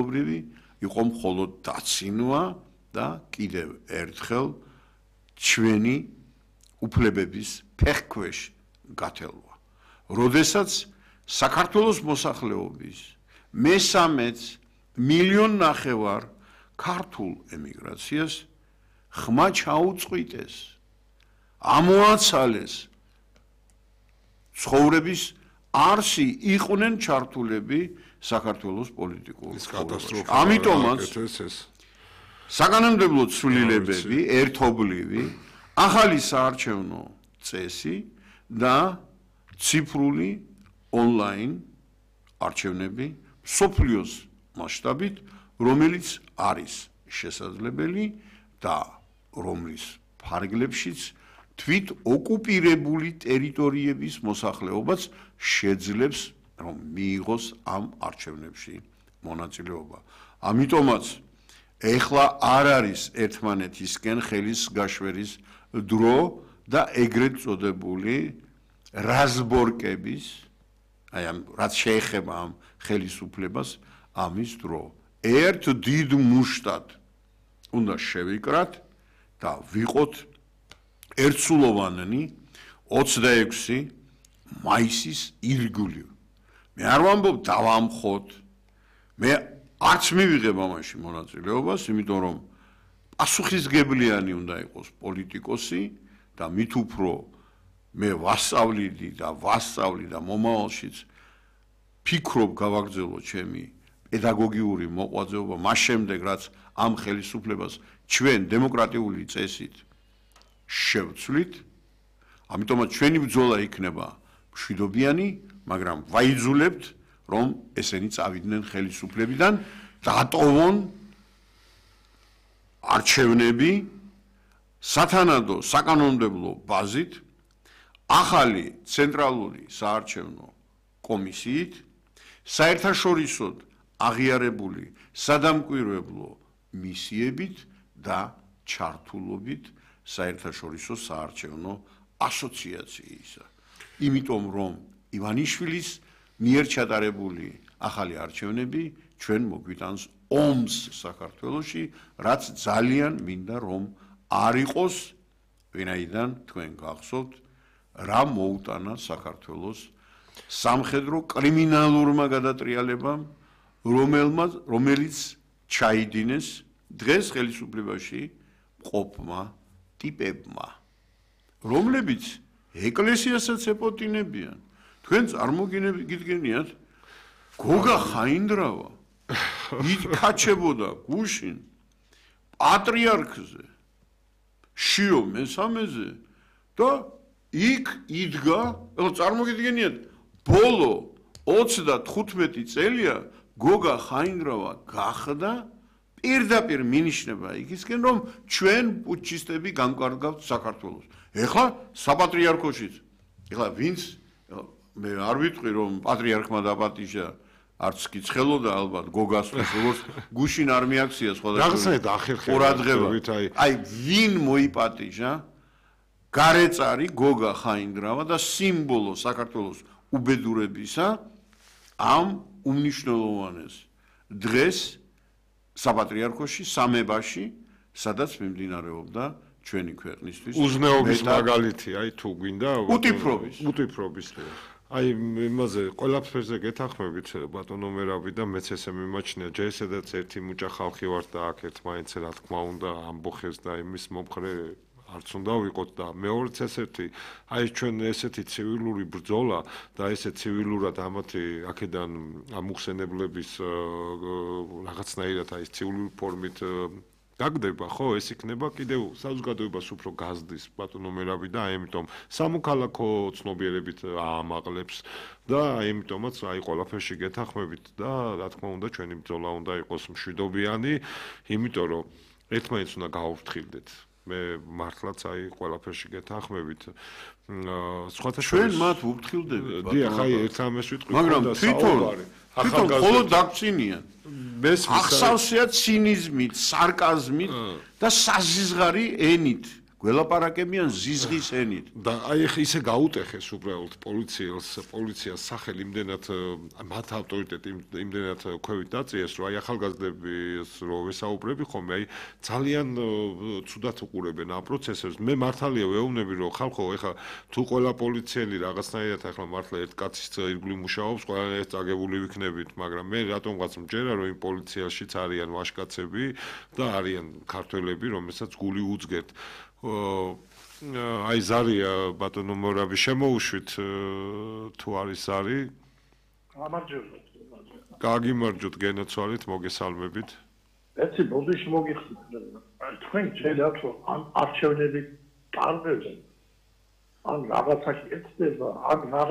ადგილობრივი, იყო მხოლოდ დაცინვა და კიდევ ერთხელ ჩვენი უფლებების ფეხქვეშ გათელვა. როდესაც საქართველოს მოსახლეობის მე-13 მილიონ ნახევარ ქართულ ემიგრაციას ხმა ჩაუწყვიტეს, ამოაცალეს ცხოვრების არსი იყვნენ ჩართულები საქართველოს პოლიტიკურ ცხოვრებაში. ამიტომაც საკანონმდებლო ცვლილებები, ერთობლივი, ახალი საარჩევნო წესი და ციფრული ონლაინ არჩევნები მსოფლიოს მასშტაბით, რომელიც არის შესაძლებელი და რომლის ფარგლებშიც თვით ოკუპირებული ტერიტორიების მოსახლეობაც შეძლებს რომ მიიღოს ამ არჩევნებში მონაწილეობა. ამიტომაც ეხლა არ არის ერთმანეთისკენ ხელის გაშვერის დრო და ეგრეთ წოდებული რაზბორკების, აი ამ რაც შეეხება ამ ხელისუფლებას, ამის დრო. ერთ დიდ მუშტად უნდა შევიკრათ და ვიყოთ ერთსულოვანი 26 მაისის ირგვლივ. მე არ ვამბობ დავამხოთ, მე არც მივიღებ ამაში მონაწილეობას, იმიტომ რომ პასუხისგებლიანი უნდა იყოს პოლიტიკოსი და მით უფრო მე ვასწავლი და მომავალშიც ფიქრობ გავაგრძელო ჩემი პედაგოგიური მოღვაწეობა მას შემდეგ რაც ამ ხელისუფლებას ჩვენ დემოკრატიული წესით შევცვლით, ამიტომაც ჩვენი ბრძოლა იქნება მშვიდობიანი, მაგრამ ვაიძულებთ რომ ესენი წავიდნენ ხელისუფლებიდან, დატოვონ არჩევნები სათანადო საკანონმდებლო ბაზით, ახალი ცენტრალური საარჩევნო კომისიით, საერთაშორისოდ აღიარებული სადამკვირვებლო მისიებით და ჩართულობით საერთაშორისო საარჩევნო ასოციაციისა. იმიტომ რომ ივანიშვილის მიერ ჩატარებული ახალი არჩევნები ჩვენ მოგვიტანს ომს საქართველოში, რაც ძალიან მინდა რომ არ იყოს, ვინაიდან თქვენ გახსოვთ, რა მოუტანა საქართველოს სამხედრო კრიმინალურმა გადატრიალებამ, რომელიც ჩაიდინეს დღეს ხელისუფლებაში მყოფმა ტიპებმა, რომლებიც ეკლესიასაც ეპოტინებიან. თქვენ წარმოგიდგენიათ, გოგა ხაინდრავა იკაჩებოდა გუშინ პატრიარქზე, შიო მესამეზე და იქ იდგა, წარმოგიდგენიათ, ბოლო 35 წელია გოგა ხაინდრავა გახდა პირდაპირ მინიშნება იქისკენ, რომ ჩვენ პუჩისტები განკარგავთ საქართველოს. ეხლა საპატრიარქოშიც, ეხლა ვინც მე არ ვიტყვი რომ პატრიარქმა დაპატიჟა, არც კი ცხელოდა ალბათ გოგას, როგორც გუშინ არ მიაქცია სხვადასხვა ყურადღება. აი ვინ მოიპატიჟა გარეწარი გოგა ხაინდრავა და სიმბოლო საქართველოს უბედურებისა ამ უმნიშვნელოვანეს დღეს საპატრიარქოში, სამებაში, სადაც მიმდინარეობდა ჩვენი ქვეყნისთვის უზნეობის მაგალითი, აი თუ გვინდა უტიფრობის. აი იმაზე ყველაფერზე გეთანხმებით ბატონო მერავი და მეც ესე მიმაჩნია, ჯერ ესედაც ერთი მუჭა ხალხი ვართ და აქ ერთმანეთს რა თქმა უნდა ამბოხეს და იმის მომხრე არც უნდა ვიყოთ და მეორეც ესეთი, აი ჩვენ ესეთი ცივილური ბრძოლა და ესე ცივილურად ამათი აქედან ამუხსენებლების რაღაცნაირად აი ცივილური ფორმით გაგდება, ხო, ეს იქნება კიდევ საზოგადოებას უფრო გაზრდის ბატონო მერავი და ამიტომ სამოქალაქო ცნობიერებით აამაღლებს და ამიტომაც აი ყველაფერში გეთანხმებით და რა თქმა უნდა ჩვენი ბრძოლა უნდა იყოს მშვიდობიანი, იმიტომ რომ ერთმანეთს უნდა გავუფრთხილდეთ. მე მართლაც აი ყველაფერში გეთანხმებით. სხვათა შორის ჩვენ მათ ვუფრთხილდებით. დიახ, აი ერთ ამას ვიტყვი, მაგრამ თვითონ მხოლოდ დაგწინიან. ახსავსეა ცინიზმით, სარკაზმით და საზიზღარი ენით. გველაპარაკებიან ზიზღის ენით. და აი ხე ისე გაუტეხეს უბრალოდ პოლიციას სახელი იმდენად მათ ავტორიტეტი იმდენად ქვევით დაწიეს, რომ აი ახალგაზრდების რო ვესაუბრები ხომ, აი ძალიან ცუდად უყურებენ ამ პროცესებს. მე მართალია ვეუბნები, რომ ხალხო, ეხლა თუ ყველა პოლიციელი რაღაცნაირად ახლა მართლა ერთ კაცის ირგვლივ მუშაობს, ყველანაირად წაგებული ვიქნებით, მაგრამ მე რატომღაც მჯერა, რომ იმ პოლიციაშიც არიან ვაჟკაცები და არიან ქართველები, რომელსაც გული უძგერთ. აი ზარია ბატონო მორაბი შემოუშვით თუ არის ზარი გამარჯობათ გაგიმარჯოთ გენოცვალით მოგესალმებით ერთი ბოდიში მოგიხსნით თქვენ შეიძლება რომ ან არჩევნები ტარდებენ ან რაღაცა ეკეთება ან რაღაც